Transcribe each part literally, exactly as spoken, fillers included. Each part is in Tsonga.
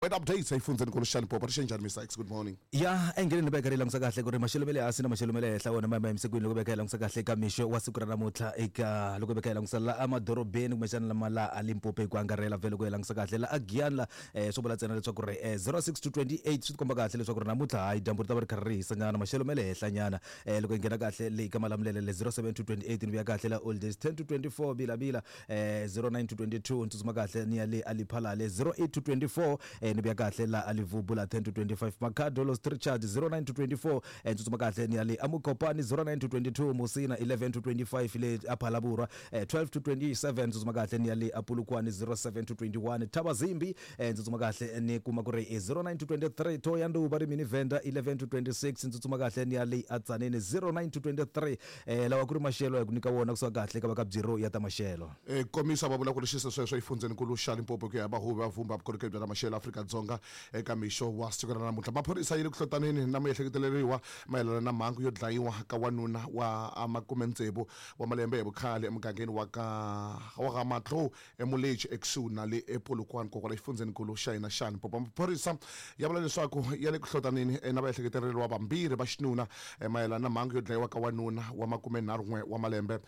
Weather updates exifundzhenikulu xa Limpopo ri xenjhani Mister X? Good morning. Ya engele ni veka ri langutisa kahle ku ri maxelo ma le hansi na maxelo ma le henhla wona ma ma emisekweni loko veka hi langutisa kahle eka mixo wa siku ra namuntlha eka loko veka hi langutisa la emadorobeni kumbexana lama la a Limpopo hi ku angarhela vhele loko hi langutisa kahle la a Giyani la eh, swo vula ntsena leswaku ri eh, zero six to twenty-eight swi tikomba kahle leswaku ri namuntlha hayi dyambu ri ta va ri karhi ri hisa nyana maxelo ma le henhla nyana eh, loko hi nghena kahle le ka Malamulele le zero seven to twenty-eight ni vuya kahle la Old Days ten to twenty-four Bila-Bila eh, zero nine to twenty-two ni tsutsuma kahle ni ya le a Lephalale zero eight to twenty-four eh, ni vuya kahle la a Levubu la ten to twenty-five Makhado Los Richard zero nine to twenty-four eh, tsutsuma kahle ni ya le Amukopani zero nine to twenty-two Musina eleven to twenty-five le Aphalabura eh, twelve to twenty-seven tsutsuma kahle ni ya le Apulukwane zero seven to twenty-one Thabazimbi eh, tsutsuma kahle ni kuma ku ri zero nine to twenty-three Thohoyandou va ri mini Venda eleven to twenty-six tsutsuma kahle ni ya le Atsaneni zero nine to twenty-three eh, lawa ku ri maxelo ya ku nyika wona kusuka kahle ka va ka bureau ya ta maxelo. Eh, komisa va vula ku ri xisa sweswo exifundzhenikulu xa Limpopo ku ya vahuvi va vumba vukorhokeri bya ta maxelo Afrika-Dzonga eka mixo wa siku ra namuntlha. Maphorisa yi le ku hlotaneni na miehleketeleriwa mayelana na mhangu yo dlayiwa ka wanuna wa makume tsevu wa malembe hi vukhale emugangeni wa ka wa ka Matlou eMuleji ekusuhi na le ePolokwane kokwala exifundzhenikulu xa hina xa Limpopo. Maphorisa ya vula leswaku ya le ku hlotaneni na vaehleketeleriwa vambirhi va xinuna mayelana na mhangu yo dlayiwa ka wanuna wa makume nharhu n'we wa malembe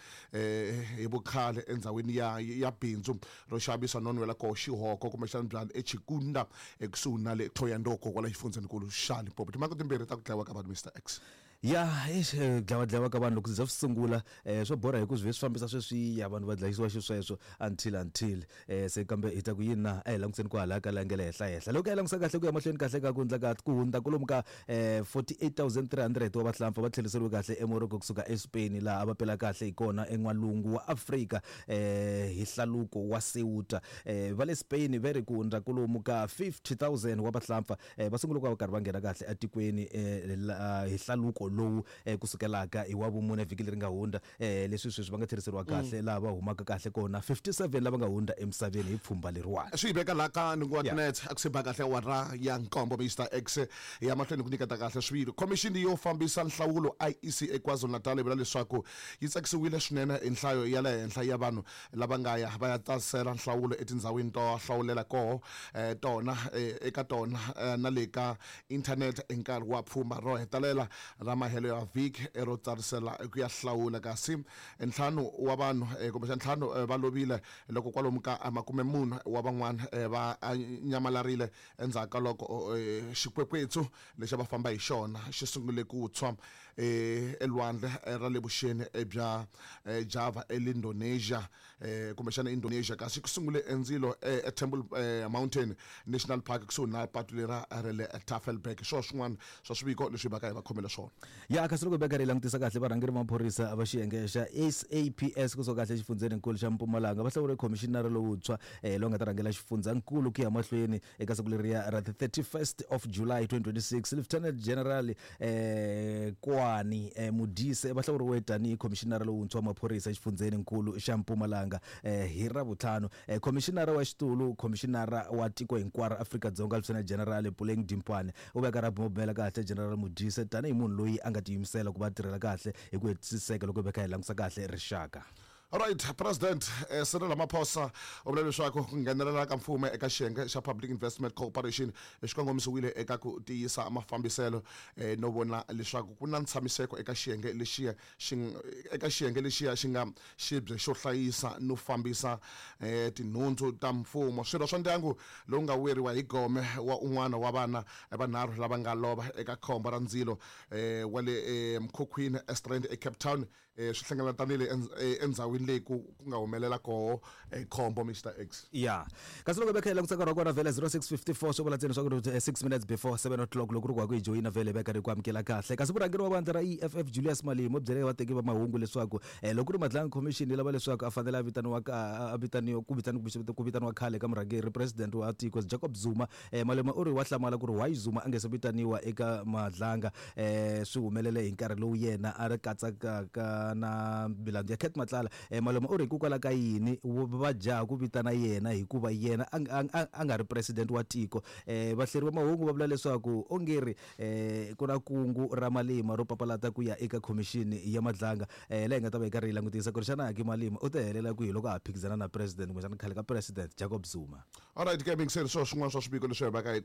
hi vukhale endhawini ya ya bindzu ro xavisa no nwela koho xihoko kumbexana byala eChikunda ekusuhi na le Thohoyandou kokwala exifundzhenikulu xa Limpopo. Timhaka timbirhi ta ku dlayiwa ka vanhu Mister X. Ya eish dlawa dlawa ka vanhu loko swi za swi sungula eh, swo borha hi ku swi ve swi fambisa sweswiya vanhu va dlayisiwa xisweswo until until eh, se kambe hi ta ku yini na a hi langutiseni ku hala ka la nge le henhla henhla loko hi langutisa kahle ku ya mahlweni kahle ka ku hundza ka ku hundza kwalomu ka eh, forty-eight thousand three hundred wa vahlampfa va tlheriseriwe kahle eMorocco kusuka eSpain laha a va pela kahle hi kona en'walungu wa Afrika eh, hi hlaluko wa Ceuta eh, va le Spain va ri ku hundza kwalomu ka fifty thousand wa vahlampfa eh, va sungule ku va karhi va nghena kahle etikweni eh, la, hi hlaluko lowu eh, kusukelaka hi wa vumune vhiki leri nga hundza eh, leswi sweswi va nga tlheriseriwa kahle laha va humaka kahle kona fifty-seven lava nga hundza emisaveni hi pfhumba leriwani. Swi veka laha ka nhungu wa Yeah. tinetse a ku se ba kahle awara ya nkombo Mister X ya mahlweni ku nyiketa kahle swilo. Khomixini yo fambisa nhlawulo I E C eKwaZulu-Natal yi vula leswaku yi tsakisiwile swinene hi nhlayo ya le henhla ya vanhu lava nga ya va ya tsasela nhlawulo etindhawini to hlawulela koho eh, tona eh, eka tona eh, na le ka internet hi nkarhi wa pfhumba ro hetelela ra mahelo ya vhiki ro tsarisela ku ya hlawula. Kasi ntlhanu wa vanhu eh, kumbexana ntlhanu eh, va lovile loko kwalomu ka makume mune wa van'wana eh, va nyamalarile endzhaku ka loko eh, xikwekwetsu lexi a va famba hi xona xi sungule ku tshwa eh, elwandle ra le vuxeni bya eh, Java eIndonesia eh, kumbexana Indonesia. Kasi ku sungule endzilo eh, eTemple eh, Mountain National Park kusuhi na patu lera ra le Tafelberg. Swo swin'wana swa swiviko leswi va ka hi va khomele swona. Ya kasi loko hi veka ri langutisa kahle varhangeri va maphorisa va xiyenge xa S A P S kusuka kahle exifundzheninkulu xa Mpumalanga va hlawule khomishinara lowuntshwa eh, lowu nga ta rhangela xifundzankulu ku ya mahlweni eka siku leriya ra the thirty-first of July twenty twenty-six. Lieutenant General eh, Kwani eh, Modise va hlawuriwe tanihi khomishinara lowuntshwa wa maphorisa exifundzheninkulu xa Mpumalanga eh, hi Ravuntlhanu. Eh, khomishinara wa xitulu khomishinara wa tiko hinkwaro Afrika-Dzonga Lieutenant General Puleng Dimpane u veka ra bumabumela kahle General Modise tanihi munhu loyi a nga tiyimisela ku va tirhela kahle hi ku hetisiseka loko hi veka hi langutisa kahle rixaka. Alright, President eh, Cyril Ramaphosa u vula leswaku ku nghenelela ka mfumo eka xiyenge xa Public Investment Corporation xi kongomisiwile eka ku tiyisa mafambiselo eh, no vona leswaku ku na ntshamiseko eka xiyenge lexiya xi eka xiyenge lexiya xi nga xibye xo hlayisa no fambisa eh, tinhundzu ta mfumo. Swirho swa ndyangu lowu nga weriwa hi gome wa un'wana wa vana vanharhu lava nga lova eka khombo ra ndzilo eh, wa le eh, mukhukhwini eStrand eCape Town eh, swi hlengeletanile endzhawini leyi ku ku nga humelela koho eh, khombo Mister X. Ya kasi loko veka hi langutisa nkarhi wa kona vhele zero six fifty-four swo vula ntsena swa ku ri six minutes before seven o'clock loko ri ku wa ku hi joyina vhele veka ri ku amukela kahle. Kasi vurhangeri wa vandla ra E F F Julius Malema u byele vateki va mahungu leswaku eh, loko ku ri Madlanga Commission yi lava leswaku a fanele a vitaniwa ka a vitaniwa ku vitaniwa ku vitaniwa khale ka murhangeri president wa tiko Jacob Zuma eh, Malema u ri wa hlamala ku ri why Zuma a nge se vitaniwa eka Madlanga eh, swi humelele hi nkarhi lowu yena a ri katsaka na milandzu ya Cat Matlala um Malema u ri hikokwalaho ka yini va jaha ku vitana yena hikuva yena a a a nga ri president wa tiko. um Vahleri va mahungu va vula leswaku ongeri um ku na kungu ra Malema ro papalata ku ya eka khomixini ya Madlanga. um Laha hi nga ta va hi karhi hi langutisa ku ri xana Aki Malema u ta helela kwihi loko a ha phikizana na president kumbexana khale ka president Jacob Zuma. Alright ke, mingiseri, swo swin'wana swa swiviko leswi hi vaka hi